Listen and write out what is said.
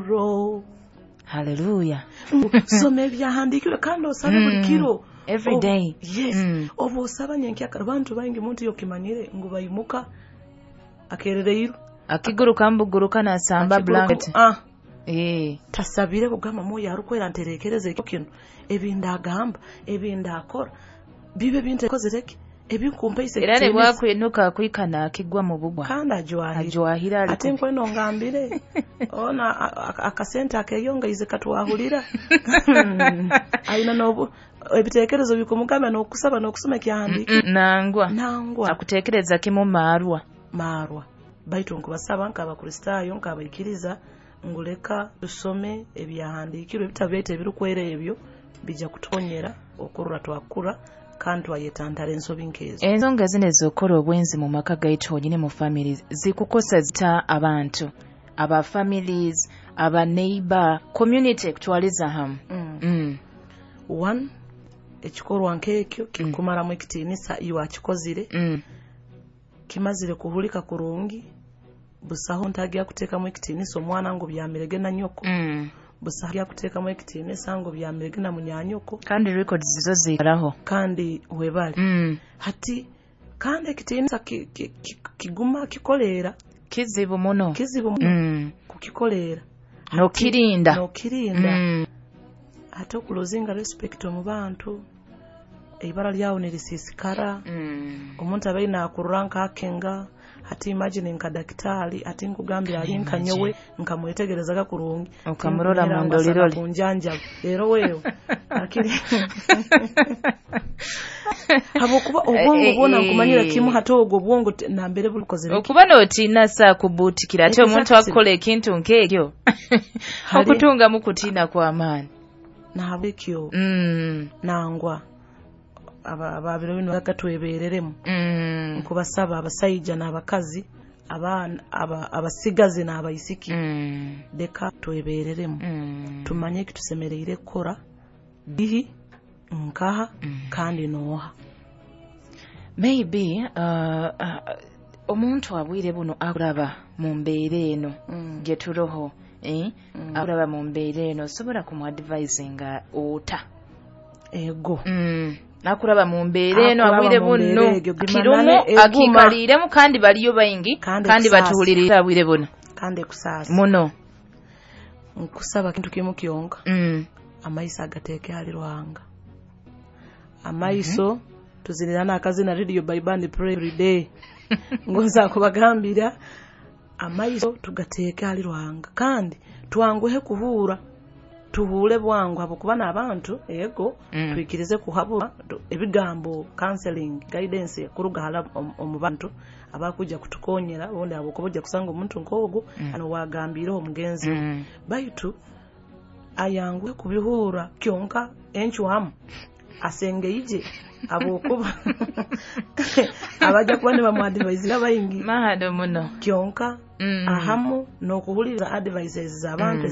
Grow. Haleluya. Soma ebyahandiikirwe kandi osabe buli kiro. Every day. Yes. Obu osaba nyenkyakara, abantu baingi, muntu yokimanyire ngu baimuka akerereirwe. Akiguruka mbuguruka nasamba blanket. Tasabire kugamba, "Mwoyo arukwera, nterekereza ekyo kino, ebindagamba, ebindakora, bibe bintekozereki ebinkumpaise." Era ne bwakwinuka akwikana akigwa mu bugwa. Kandi ajwahire. Ajwahire ali. Ate nkweno ngambire ona akasente akeyongeize katwahulira aina nobu ebitekerezo bikumugamba n'okusaba n'okusoma ekyahandiikirwe. Nangwa. Nangwa. Akutekereza kimu marwa. Marwa. Baitu nkubasaba nk'Abakristaayo, nk'abaikiriza, nguleka tusome ebyahandiikirwe, ebitabo byaitu ebirukwera, ebyo bijja kutukonyera okurora twakura kandi twayetantara ensobi nk'ezo. Ensonga zino ez'okukora obwenzi mu maka gaitu honyini, mu families, zikukosa zita abantu, aba families, aba neighbor, community kutwaliza hamu? One, ekikorwa nk'ekyo kikumaramu ekitiinisa iwe akikozire. Kimazire kuhulika kurungi, busaho ntagya kuteekamu ekitiinisa omwana ngu byamirege na nyoko. Busaho agya kuteekamu ekitiinisa ngu byamirege na munyanyoko. Kandi records zo ziikaraho. Kandi webale. Hati kandi ekitiinisa kiguma kikoleera. Kizibu muno. Kizibu muno kukikoleera. Nokirinda. Nokirinda. Ate okulozinga respect omu bantu, eibara lyawe nirisiisikara. Omuntu abaire nakurora nkakenga, hati imagine nka dakitari, ati nkugambye ali nka nyowe nkamwetegerezaga kurungi. Okamurora Tinkumira mu ngu asaga ndoliroli. Kunjanjaba rero wewe akiri, habwokuba obwongo bwona nkumanyira kimu, hati ogwo obwongo nambere bulikozere. Okuba nootiina saa kubuutikira ate omuntu akukola ekintu nk'ekyo, okutungamu kutiina kw'amaani. Nahabwekyo nangwa ababiro bino gatwebereremu. Nkubasaba abasaija n'abakazi, abaana, abasigazi n'abaisiki, leka twebereremu. Tumanye ekitusemereire kukora dihi, nkaha, kandi nooha. Maybe omuntu abwire buno akuraba mu mbeera eno gye turoho, eh? Akuraba mu mbeera eno, osobola kumuadvisinga ota? Ego. Akuraba mu mbeera eno Akuraba abwire mu mbeera buno egyo, kirumu gimanane, eguma. Akikaliiremu, kandi baliyo baingi. Kandi kandi ekusaasa. Batuwuliriza abwire buno. Kandi ekusaasa. Muno. Nkusaba kintu kimu kyonka. Amaiso agateeke hali Ruhanga, amaiso tuzinira n'akazina Radio Bible and Pray Every Day, ngonza kubagambira amaiso tugateeke hali Ruhanga, kandi twanguhe kuhuura, tuhuule bwangu, habwokuba n'abantu ego. Twikirize kuhabura ebigambo, counseling, guidance kuruga hala omu bantu abakujja kutukonyera, obundi habwokuba ojja kusanga omuntu nk'ogwo ano wagambiireho omugenzi we. Baitu ayanguhe kubihuura kyonka encwamu asengeije, habwokuba abajja kuba nibamuadvisinga baingi. Mahado muno. Kyonka ahamu n'okuhuliriza advices z'abantu.